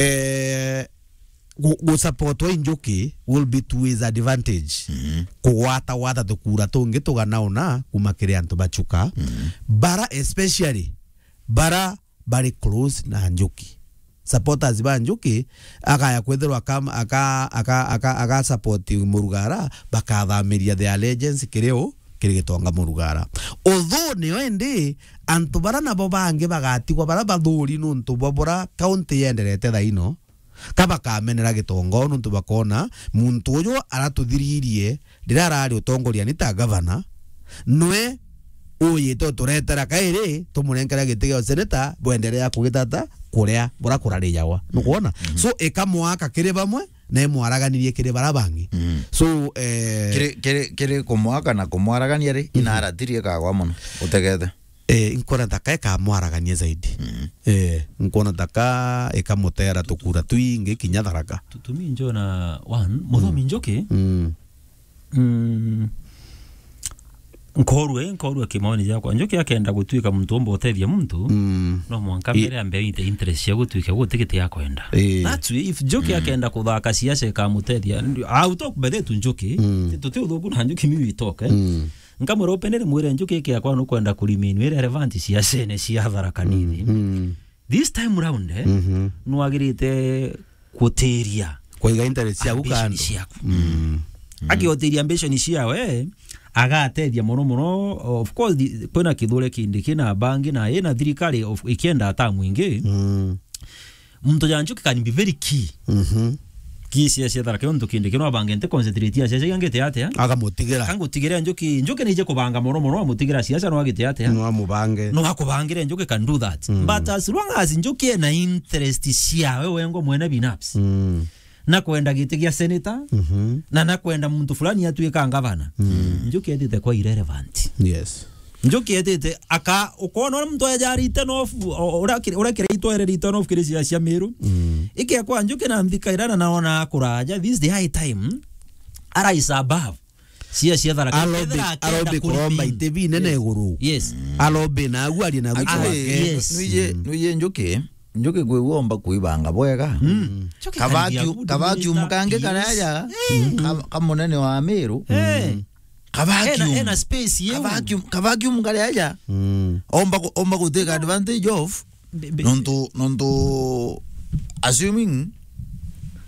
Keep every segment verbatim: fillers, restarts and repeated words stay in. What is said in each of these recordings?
eh, gu-, gusupportwa i Njuki will be to his advantage. Mm. Kugwata gwata tukura tungi tuganauna kuma kiri antu ba Chuka. Mm. Bara especially, bara bari close na Njuki. Supporters ba Njuki, akaya kwithirwa aka, aka, aka, aka, aka support Murugara, bakathamiria the allegiance kiri u, kiri Gitonga Murugara. Although nio indi, antu bara nabo bangi bagatigwa bara bathuri nuntu bwa bura county yenderete thaino, ka bakamenera Gitonga nuntu bakona muntu uju aratuthiririe riria arari utongoriani ta gavana, nwe uyite uturetera kairi, tumunenkera giti gia seneta, bwenderea kugitata kuria bura kurarijawa. Nukwona? Mm. So, ikamwaka kiri bamwe, na imwaraganirie kiri bara bangi. Mm. So, eh, kiri, kiri, kiri kumwaka na kumwaragania ri, mhm, inaratirie kagwa mono. Utegete. Eh, nkwona ta ka ikamwaragania zaidi. Mm. Eh, nkwona ta ka ikamutera tukura twingi kinya Tharaka. Tutumi njona, one, Muthomi Njuki. Mm. Mm. Nkorwe, nkorwe kimaoni jakwa. Njuki akenda gutuika muntu umba utethia muntu, mm, no mwanka mbere ambe inte interest cia gutuika guti giti akwenda. Eh. That's way, if Njuki akenda kuthaka siasa ikamutethia, I'll talk by the to Njuki. Mm. Tuti uthuku na Njuki, mi we talk, eh. Mm. Nkamwira openly, mwire Njuki, iki akwa nukwenda ku remain wi relevant siasene cia Tharaka Nithi. Mm. This time round, eh, mhm, nwagirite gutiria, kuiga interest ciaku ambition kando ciaku. Mm. Akiotiria ambition ciawe, agatethia mono mono. Of course, the, kwina Kithure Kindiki na bangi na ina thirikari of, ikienda atamu ingi. Mm. Muntu ja Njuki can be very key. Mhm. Key cia, cia Tharaka, untu Kindiki no abange nte concentrate ya cia, cia gangite atia? Akamutigira. Kangutigira Njuki, Njuki nije kubanga mono mono, amutigira siasa no agite atia? No amubange. No akubangire, Njuki can do that. Mm. But as long as Njuki ena interest ciawe wengo mwene binafsi. Mm. Na kwenda giti gia senator, mhm, na, na kwenda muntu fulani atuika ngavana. Mm. Njuki etite kwa irrelevant. Yes. Njuki etite aka, ukona uria muntu aja written off, o-, uria kire-, uria kire itwa ere written off kiri cia, cia Miru. Mm. Ike kwa Njuki na nthika ira na naona akuraja, this is the high time. Ara is above. Cia, cia Tharaka. Alobe, alobe kuromba ite binene iguru. Yes. Alobe na agu arie na agu. Actually, yes. Nuije, mm, nuije Njuki, Njuki kwigua omba kwibanga bwega. Mm. Njuki kavacuum, can be a good kavacuum minister, kangi karia aja, yes, ka-, ka munene wa Miru. Eh. Kavacuum. Ena, ena space yeu. Kavacuum, kavacuum karia aja. Mm. Omba ku-, omba gutake advantage of. Be-, be-, nontu, nontu assuming,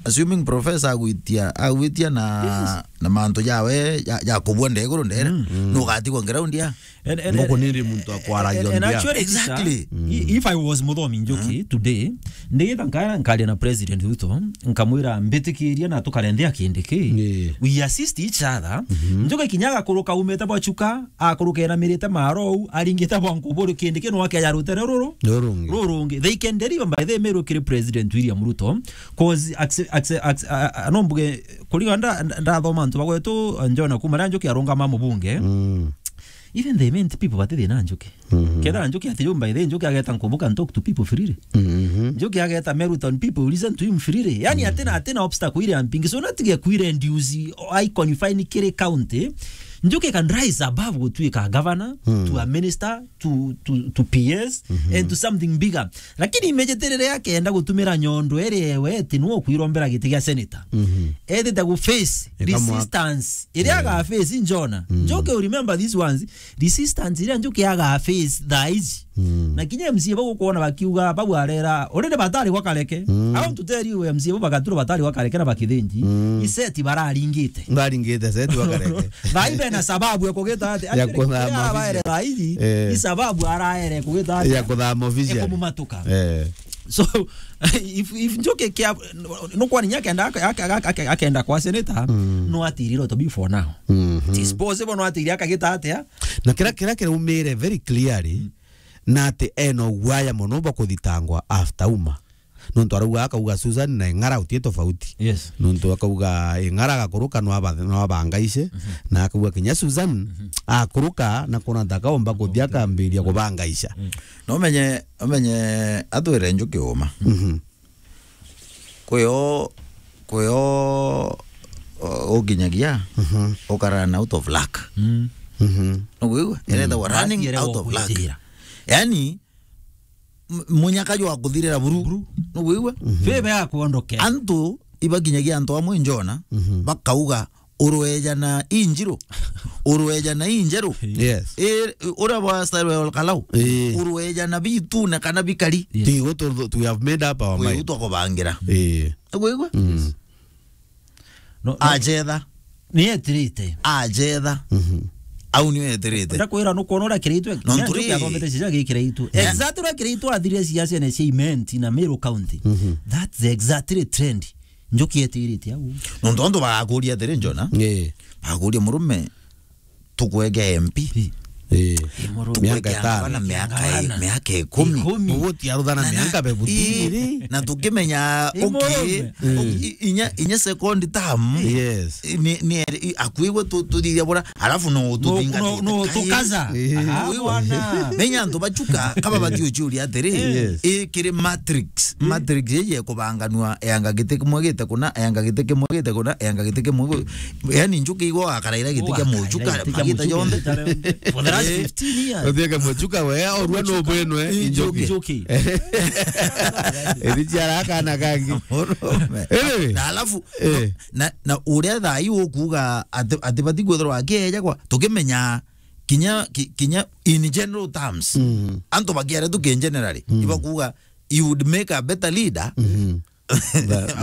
assuming professor agwitia, agwitia na, yes, na mantu jawe ja, ja kubua ndeguru ndere, mm, mm, nugatigwa ground ya. And, and, nguku and, niri muntu akwaragia and, and ndia. Actually, exactly. Mm. I-, if I was Muthomi Njuki, mm, today, ndigita nkara nkaria na President Ruto, nkamwira, mbitikiria na tukarenthea Kindiki. Yeah. We assist each other. Mhm. Njuki kinya agakuruka umite bwa Chuka, akuruka enamirite marou, aringite bwa nkuburi Kindiki no akeja rutere ruru. Rurungi. Rurungi. They can deliver by the mail kiri President William Ruto, 'cause acce-, acce-, acce-, a, a, no mbuge, kuriga nda-, nda-, ndathoma antu bagwetu, Njona kuma ria Njuki arungama mubunge. Mm. Even the main people bati thina Njuki. Mhm. Kethira Njuki ati yumba ithe, Njuki ageta Nkubuka and talk to people freely. Mhm. Njuki ageta Meru Town people listen to him freely. Yani, mhm, atina, atina obstacle ile ampingi. So natige kuire induce, I confine kiri county. Njuki can rise above gutuika governor, mm, to a minister, to, to, to P S, mhm, and to something bigger. Lakini immediately riria akenda gutumira nyondo iri ewe ati nwe ukwirombera giti gia senator. Mhm. Ethite gu face, ikamwa-, resistance. Iria, yeah, aga face Njona. Mm. Njuki, remember these ones. Resistance iria Njuki aga face thaa ici. Mm. Na kinya M C A bau ukwona bakiuga, bau arera, already batari gwa Kareke. Mm. I want to tell you, M C A bau bagatura batari gwa Kareke na bakithinji. Mm. Iseti bararingite. Baringite seti gwa Kareke. Thaa ici bena sababu ya kugita ati, ya actually, kuthama kiria abaere ofisi thaa ici, eh, ni sababu araere kugita ati, ya kuthama ofisi, ya kumumatuka. Eh. So, if, if Njuki kia, nukwani akenda, aka-, aka-, aka-, aka-, akenda kwa senator, mm, no atirire to be for now. Mhm. It is possible no atirire akagita atia? Na kira, kira kiraumire very clearly, mm, na ati ena uguaya mono bwa kuthitangwa after uma. Nontu arauga, akauga Susan na Ing'ara utie tofauti. Yes. Nontu akauga Ing'ara agakuruka no aba-, no abangaice, mhm, na akauga kinya Susan, mhm, akuruka na kuna ntaka omba kuthia akambiria kubangaica. Mm. No menye, menye atwire Njuki uma. Mhm. Kwio, kwio, uh, ukinyagia, mhm, ukarana out of luck. Mm. Mhm. Nukwigua? Mm. Iretawa running out of luck. Yani, m-, munyaka jwa kuthirira buru. Buru. Nugwigua? Favor ya kuondokera. Antu ibakinyagia antu amwe njona, mhm, bakauga, "Urweja na injiro, urweja na injeru." Yes. Eh, uria bwa style wa Kalau. Eh. "Urweja na bitune kana bikari." Yes. Ti gutu, tu, we have made up our mind. Twakubang'ira. Eh. Nugwigua? Mm. No, no. Achetha. Ni etirite. Achetha. Mhm. Au ni etirite. Ndakwira nukwona uria kiraitwe. No, ntuki athomete cia gikiraitwe. Yeah. Exactly uria kiraitwe athirire ciacia na cia Imenti na Meru County. Mhm. That's exactly trend. Njuki etirite au. Nontu antu bagakuria atiri, Njona. Eh. Bagakuria, "Murume, tukwege M P?" Eh. Miaka itano. Tukwege na miaka, miaka ikumi. Ikumi. Uguo ti aruthana miaka bebutiri. Ii, na tukimenya, okay, murume, i-, inya, inya second term, yes, ni, ni, i-, akuigwe tu-, tuthithia bura, alafu no, no, no, tukaza. Eh. Aha, bwana. Menya antu bachuka, kaba batiuchuria atiri, yes, i kiri matrix. Matrix iji ikubanganua, eanga giti kimwe gite kuna, eanga giti kimwe gite kuna, eanga giti kimwe gu-, yani, njuki igwa akaraira giti kia muchuka, magita jonthe. For the last fifteen years. Uthieke muchuka we, orua no bwenwe, njuki. Njuki. Iri ciara akana kangi. Anyway. Na alafu, eh, na, na uria thaa ii ukuuga ati, ati bati kwithirwa akieja kwa, tukimenya kinya, ki-, kinya in general terms. Mm. Antu bakiaria tu ki generally, mm, ibakuuga, "You would make a better leader." Mhm.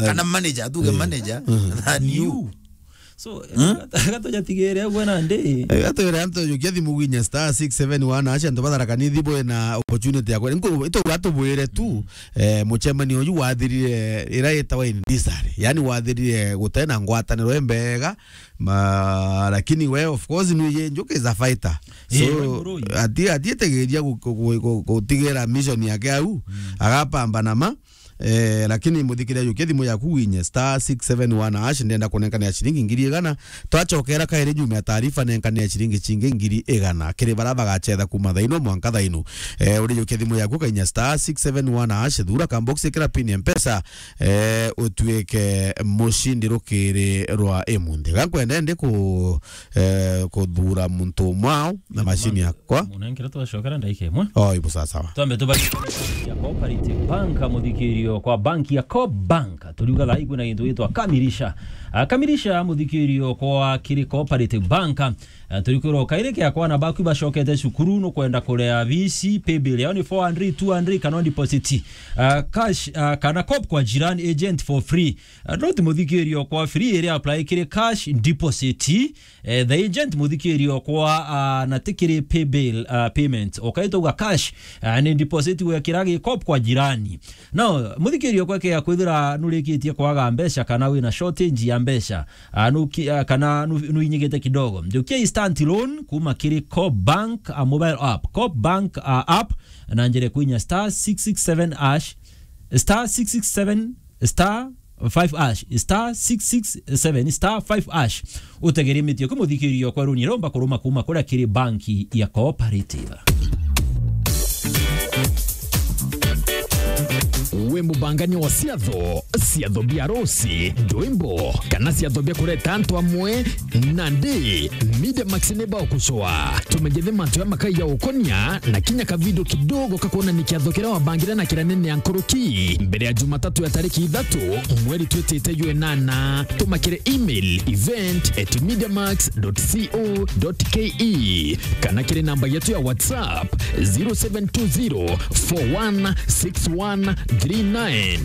Kana manager, tuge manager than you. So, gatojatigire agwe na ndi. Eh, gatwire antu jukia thimu gwinya star six seven one hash, antu batharaka ni thibu na opportunity yakwa. Nko, ito gatubwire tu, eh, muchemanio uju wathirire ira itawa in Disari. Yani wathirire gutena ngwataniro embega, ma, lakini we, of course, nuje njuki is a fighter. So, eh, ati, atietegeria gu-, gu-, gu-, gu-, gutigira mission yake au, mm, agapambana ma. Eh, lakini muthikiriria, jukia thimu yaku winye star six seven one hash, ndenda kunenkanira ciringi ngiri igana. Twachokera kairi nyuma ya taarifa, nenkanira ciringi cingi ngiri igana. Kiri bara bagachetha kuma thaino mwanka thaino. Eh, uri jukia thimu yaku kainya star six seven one hash, thura kambox, ikira pin ya Mpesa, eh, utuike mushindi rukiri rwa imunthi. Gankwenda ndi ku, eh, kuthura muntu umwe ao na mashini yakwa. Munenkere twacokera ndaika imwe. Oh, ibu sawa sawa. Twambe tubari ya Cooperative Bank, muthikirio kwa bank ya Coop Bank. Turiuga thaa ii kwina gintu gitwa Kamilisha. Ah, Kamilisha, muthikirio kwa kiri Cooperative Bank. Ah, turikwirwo kairi kiakwa na baku bacokete cukuru, nukwenda kurea bisi, paybill yao ni four hundred, two hundred, kana deposit, ah, cash, ah, kana Coop kwa jirani agent for free. Ah, not muthikirio kwa free, iri apply kiri cash deposit. Eh, the agent muthikirio kwa, ah, na tikiri paybill, ah, payment. Ukaitauga cash, ah, ni deposit gwekira gi Coop kwa jirani. Now, muthikirio kwekea kwithira nurikitie kwaga mbeca kana wina shortage ya mbeca, ah, nuki-, ah, kana nu-, nuinyigite kidogo. Njukia instant loan kuma kiri Coop Bank, ah, mobile app. Coop Bank, ah, app, na njire kwinya star six six seven hash, star six six seven star five hash, star six six seven star five hash. Utegeremetie kumuthikiria kwa runi romba kuruma kuma kuria kiri banki ya Cooperative. We mubangania wa ciatho, ciatho bia arusi, ndwimbo, kana ciatho bia kureta antu amwe, nandi Media Max ni bagucoa. Tumegethe mantu ya makai ya ukonia na kinya ka video kidogo ka kuonania kiatho kiria wabangire na kiria nene ya nkuruki mbere ya Jumatatu ya tariki ithatu mweri twitite jwa inana. Tuma kiri email event at mediamax dot co dot ke kana kiri namba yetu ya WhatsApp zero seven two zero four one six one three nine.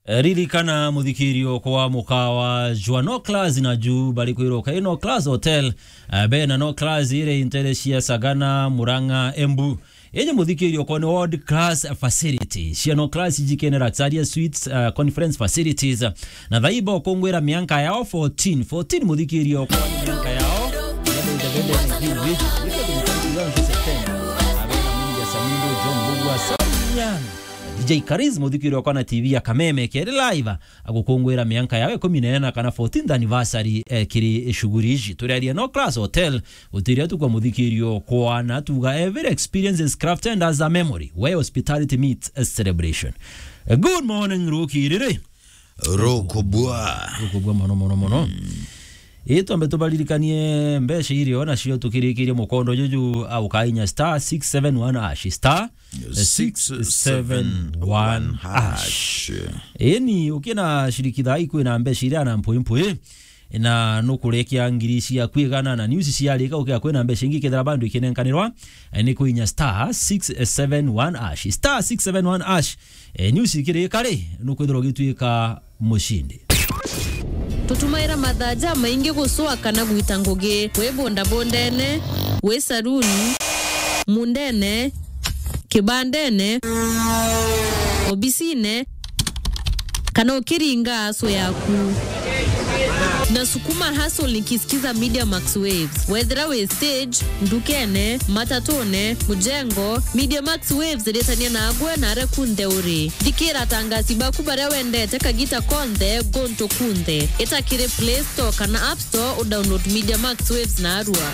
Ririkana muthikirio kwa mukawa jwa No Class na ju bari kwirwo kai No Class Hotel, eh, bena No Class iri intere cia Sagana, Murang'a, Embu. Iji muthikirio kwa ni world class facility. Cia No Class iji kene Luxuria Suites, eh, conference facilities. Na thaiba ukungwira mianka yao fourteen. Fourteen muthikirio kwa ni mianka yao. Abena Minja Samindo, John Mbugua, Samian. D J Kariz, muthikirio kwa na T V ya Kameme, keri live, agukungwira mianka yao ikumi na ina kana fourteenth anniversary, eh, kiri shughuli iji. Turiaria No Class Hotel, utiria tu kwa muthikirio kwa na tuga every experience is crafted as a memory where hospitality meets a celebration. Eh, good morning, Rukiriri. Rukubwa. Rukubwa mono, mono, mono. Mm. Ii twambe tubaririkanie mbeca irio nacio tukirikirie mukondo juju, au kainya star six seven one hash, star six seven one hash. Eni, ukina shiriki thaa ikwina mbeca iria na mpwi mpwi, na nukurekia ngiri ciaku igana na news ciarika, ukia kwina mbeca ingi kethira bandu ikinenkanirwa, eh, ni kwinya star six seven one hash, star six seven one hash. Eh, news ikirika ri, nukwithirwa ugituika mucindi. Tutumaira mathaa jamaingi gucwa kana gwita ngugi, wi bondabondene, wi saruni, mundene, kibandene, obisine, kana ukiringa aso yaku. Na sukuma hustle nikisikiza Media Max Waves. Wethira wi stage, ndukene, matatune, mujengo, Media Max Waves iritania nagwe na aria kunthe uri. Thikira atangasi baku baria wendete kagita konthe, gontu kunthe. Ita kiri Play Store kana App Store, udownload Media Max Waves narua.